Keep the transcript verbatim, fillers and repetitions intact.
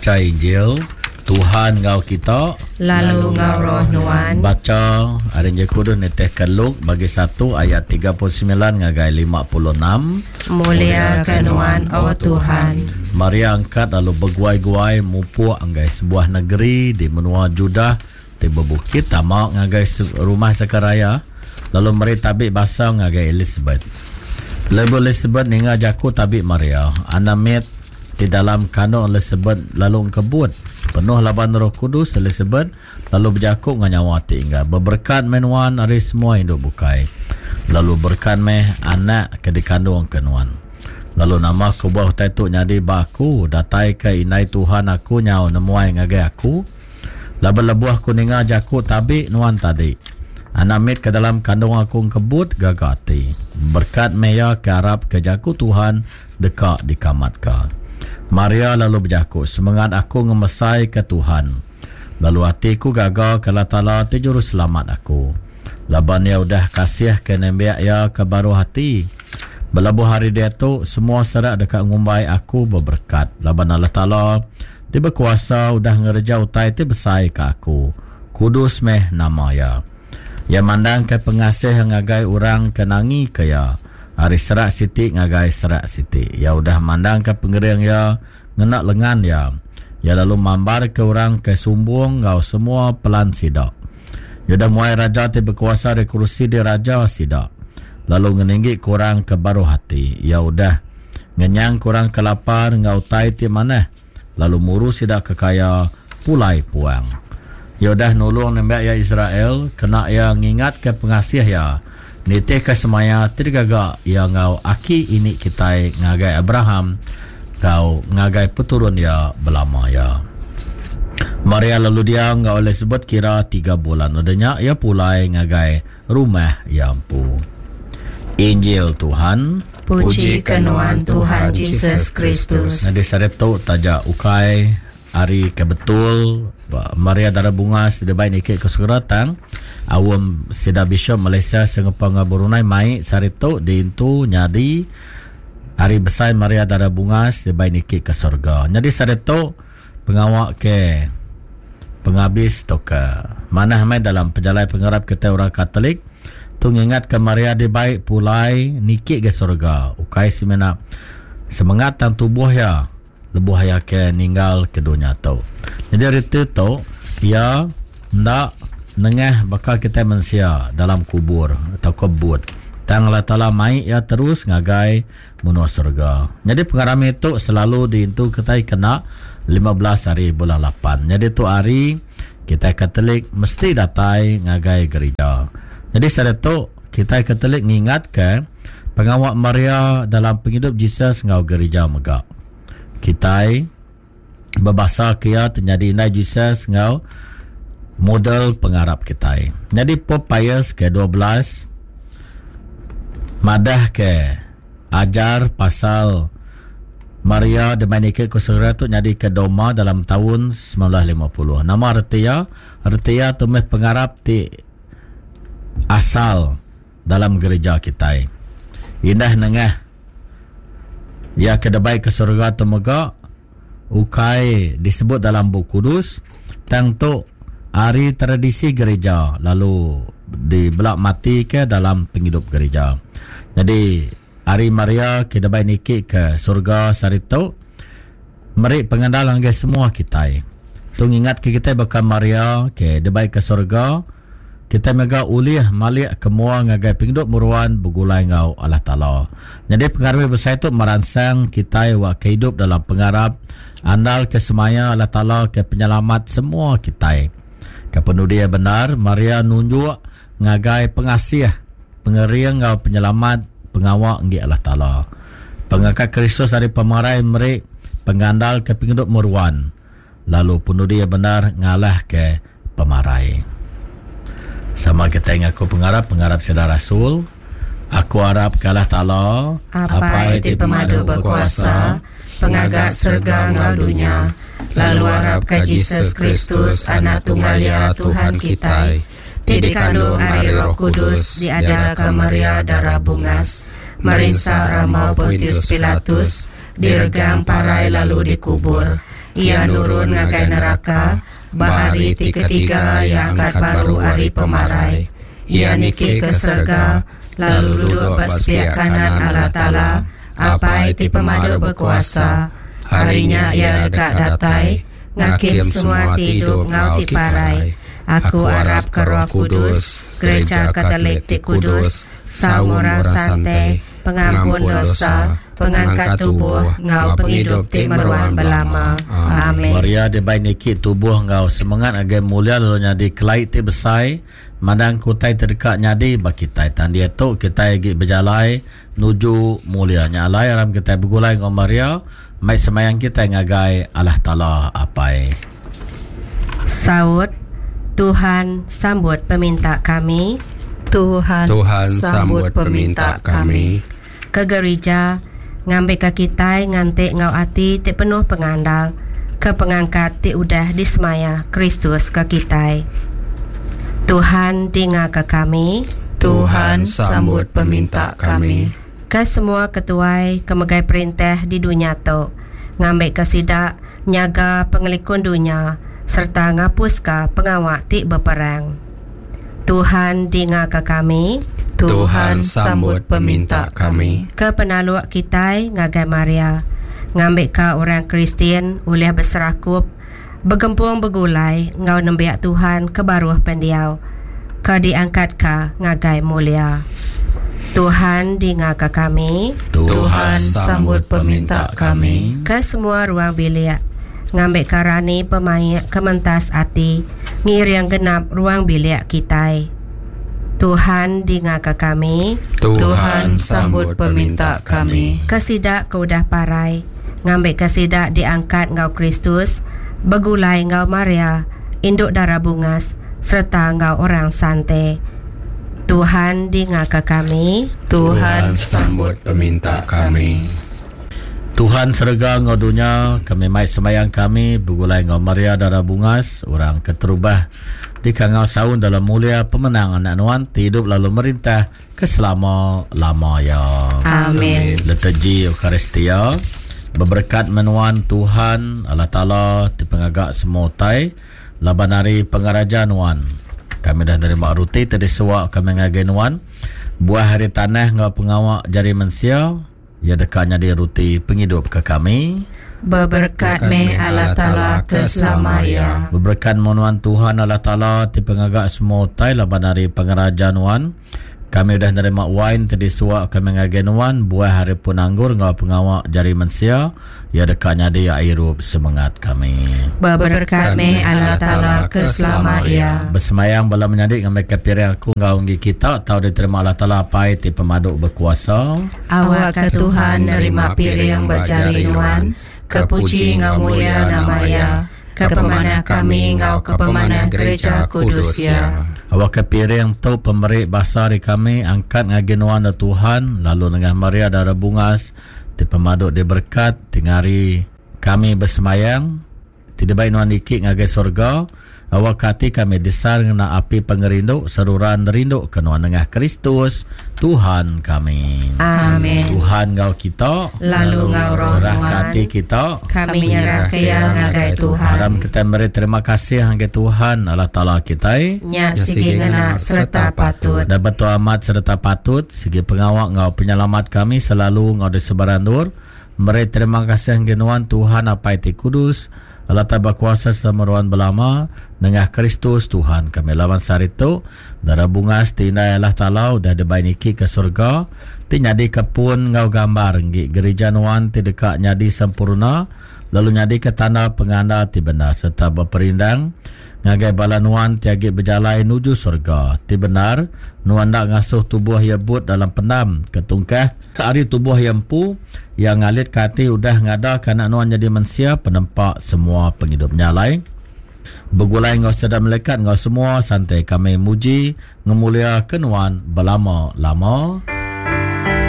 Bacha Injil Tuhan enggau kita lalu enggau roh nuan. Bacha ari Injil Kudus nitihka Luke bagi satu ayat tiga puluh semilan ngagai lima puluh enam. Mulia ke nuan, O Tuhan. Maria angkat lalu beguai-guai mupuk ngagai sebuah negeri di menua Judah ti bebukit tama ngagai rumah Zakaria lalu meri tabi basa ngagai Elizabeth. Lebuh Elizabeth ninga jaku tabi Maria, anak mit di dalam kandung Elizabeth lalu engkebut. Penuh laban Roh Kudus Elizabeth lalu berjaku dengan nyawa ti inggar, beberkat meh nuan ari semua induk bukai, lalu berkat meh anak ke dikandung ke nuan. Lalu nama kebuah utai tu nyadi ba aku, datai ke indai Tuhan aku nyau nemuai ngagai aku. Laban lebuh aku ninga jaku tabi nuan tadi, anak mit ke dalam kandung aku engkebut gaga ati. Berkat meh iya ke arap ke jaku Tuhan deka dikamatka. Maria lalu berjaku, semangat aku ngemesai ke Tuhan, lalu hatiku gaga ke Allah Taala ti juru selamat aku. Laban ia udah kasih ke nembiak ia ke baruh hati. Belabuh hari dia tu semua serak dekat ngumbai aku berberkat. Laban Allah Taala ti berkuasa udah ngereja utai ti besai ke aku. Kudus meh nama ia. Ia mandang ke pengasih ngagai orang ke nangi ke ia. Hari serak siti ngagai serak siti. Ia udah mandang ke pengering ia ngena lengan ia. Ia lalu mambar ke orang ke sumbung ngau semua pelan sida. Ia udah muai raja ti berkuasa di kerusi di raja sida. Lalu ngeninggi kurang ke baruh hati. Ia udah ngenyang kurang ke lapar ngau utai ti manah. Lalu muru sida ke kaya pulai puang. Ia udah nulung nembiak ia Israel kena ia ngingat ke pengasih ia. Nitih ke semaya ti digaga ia ngau aki ini kitai ngagai Abraham ngau ngagai peturun ia belama ia. Maria lalu dia ngau Elizabeth kira tiga bulan. Udahnya ia pulai ngagai rumah ia empu. Injil Tuhan. Puji ke nuan Tuhan Jesus Kristus. Jadi saretu taja ukai hari ke betul Maria Dara Bungas dibai nikik ke segera tang awam sida Bishop Malaysia Singapura ngau Brunei mai saretu diintu nyadi hari besai Maria Dara Bungas dibai nikik ke surga. Jadi saretu pengawa ke penghabis tu ke manah mai dalam pejalai pengarap kita orang Katolik tu ngingat ke Maria dibai pulai nikik ke surga. Ukai semina semangat tang tubuh ya lebuh ya ke ninggal ke dunia tu. Jadi reti tu ya ndak nengah bakal kita manusia dalam kubur atau kebut. Tang Allah Taala mai ya terus ngagai menua surga. Jadi pengarami tu selalu diintu kita kena lima belas hari bulan lapan. Jadi tu hari kita Katolik mesti datai ngagai gereja. Jadi saat tu kita Katolik ngingat ke pengawak Maria dalam penghidup Jesus ngau gereja megak. Kita berbahasa kia terjadi indai Jesus ngau model pengarap kita. Jadi Pope Pius ke dua belas madah ke ajar pasal Maria Dominika Kusura tu jadi ke Doma dalam tahun sembilan belas lima puluh. Nama retia, retia tu meh pengarap ti asal dalam gereja kita. Indah nengah ya kedebai ke surga tu mega ukai disebut dalam buku kudus tang tu hari tradisi gereja lalu dibelak mati ke dalam penghidup gereja. Jadi hari Maria kedebai niki ke surga sehari tu meri pengandalan ke semua kita. Tu ngingat ke kita bakal Maria ke debai ke surga kita mega ulih malik ke mua ngagai penghidup meruan begulai ngau Allah Taala. Jadi pengaruh besar tu merangsang kita wak ke hidup dalam pengarap andal ke semaya Allah Taala ke penyelamat semua kita. Kepenuh dia benar Maria nunjuk ngagai pengasih pengering ngau penyelamat pengawak ngi Allah Taala. Pengangkat Kristus dari pemarai meri pengandal ke penghidup meruan lalu penuh dia benar ngalah ke pemarai. Sama kita ngaku pengarap, pengarap sida Rasul. Aku harap ke Allah Taala, Apai ti pemadu berkuasa, pengagak serga ngau dunia, lalu harap ke Jesus Kristus, anak tunggal ya Tuhan kita, ti dikandung ari Roh Kudus, diadaka Maria Dara Bungas, merinsa Ramau Pontius Pilatus, diregang parai lalu dikubur, Ia nurun ngagai neraka, ba hari ti ketiga ia angkat baru ari pemarai. Ia niki ke serega, lalu duduk ba sepiak kanan Allah Taala, Apai ti pemadu berkuasa. Harinya ia deka datai, ngakim semua ti hidup ngau ti parai. Aku arap ke Roh Kudus, Gereja Katolik ti Kudus, saum orang sante, pengampun dosa, pengangkat tubuh, ngau penghidup ti meruan belama. Amin. Maria dibai niki tubuh ngau semangat agai mulia lalu nyadi kelai ti besai, mandang kutai terdekat nyadi bagi kitai. Tan dia tu kita lagi berjalai nuju mulia. Nya alai aram kita begulai ngau Maria, mai semayang kita ngagai Allah Taala Apai. Saut Tuhan sambut peminta kami. Tuhan, Tuhan sambut sambut peminta peminta kami. Ke gereja ngambil ke kita ngantik ngau ati ti penuh pengandal ke pengangkat ti udah disemaya Kristus ke kita. Tuhan dinga ke kami. Tuhan sambut peminta kami. Ke semua ketuai ke megai perintah di dunia tu ngambil ke sidak nyaga pengelikun dunia serta ngapus ke pengawak ti berperang. Tuhan dinga ke kami. Tuhan sambut peminta kami. Ke penaluk kitai ngagai Maria ngambil ke orang Kristian oleh berserakup bergempung begulai ngau nembiak Tuhan ke baruh pendiau ke diangkat ke ngagai mulia. Tuhan dinga ke kami. Tuhan sambut peminta kami. Ke semua ruang bilik ngambil ke rani pemaik kementas ati ngiring genap ruang bilik kitai. Tuhan dinga ke kami. Tuhan sambut peminta kami. Ke sidak ke udah parai ngambil ke sidak diangkat ngau Kristus begulai ngau Maria induk darah bungas serta ngau orang sante. Tuhan dinga ke kami. Tuhan sambut peminta kami. Tuhan serega ngau dunia, kami mai semayang kami begulai ngau Maria darah bungas orang keterubah di kangau saun dalam mulia pemenang anak nuan ti hidup lalu merintah ke selama-lama ya. Amin. Liturgi Eucharistia berberkat menuan Tuhan Allah Taala ti pengagak semua utai laban hari pengaraja nuan. Kami dah nerima ruti ti disuak kami ngagai nuan buah hari tanah ngau pengawak jari mensia. Ya dekat nyadi ruti penghidup ke kami. Berberkat meh Allah Taala ke selama ya. Berberkat menuan Tuhan Allah Taala ti pengagak semua utai laban hari pengaraja nuan. Kami dah nerima wine ti disuak kami ngagai nuan buah hari pun anggur ngau pengawak jari mensia. Ya dekat nyadi airup semangat kami. Berberkat meh Allah Taala ke selama ya. Bersemayang bala menyadik ngambil ke piring aku ngau nggi kita tau diterima Allah Taala Apai ti pemaduk berkuasa. Awak ke Tuhan nerima piring berjari nuan, kepuji ngau mulia nama ya, ke pemanah kami ngau ke pemanah gereja kudus ya. Awak ke piring tu pemeri basa di kami angkat ngagi nuan da Tuhan lalu dengan Maria darah bungas ti pemaduk diberkat tingari kami bersemayang tidak baik nuan dikit ngagai surga. Awak hati kami desar ngena api pengerindu seruran rindu ke nuan nengah Kristus Tuhan kami. Amin. Tuhan ngau kita lalu ngau roh serah nuan hati kita kami nyerah ke ya ngagai Tuhan. Aram kita meri terima kasih ngagai Tuhan Allah Taala kita. Nya sigi ngena serta patut. Dan betul amat serta patut segi pengawak ngau penyelamat kami selalu ngau di sebarandur. Meri terima kasih ngagai nuan Tuhan Apai ti Kudus Allah Taala berkuasa selama ruan belama nengah Kristus Tuhan kami. Lawan sehari tu darah bungas ti indai Allah Taala udah dibai niki ke surga ti nyadi kepun ngau gambar nggi gereja nuan ti deka nyadi sempurna lalu nyadi ke tanda penganda ti benar serta berperindang ngagai bala nuan ti agi berjalai nuju surga ti benar. Nuan ndak ngasuh tubuh ia but dalam pendam ketungkah hari tubuh ia empu yang ngalit ke hati udah ngada kanak nuan jadi mensia penempak semua penghidup nyalai. Begulai ngau sedar melekat ngau semua santai kami muji ngemulia ke nuan belama-lama.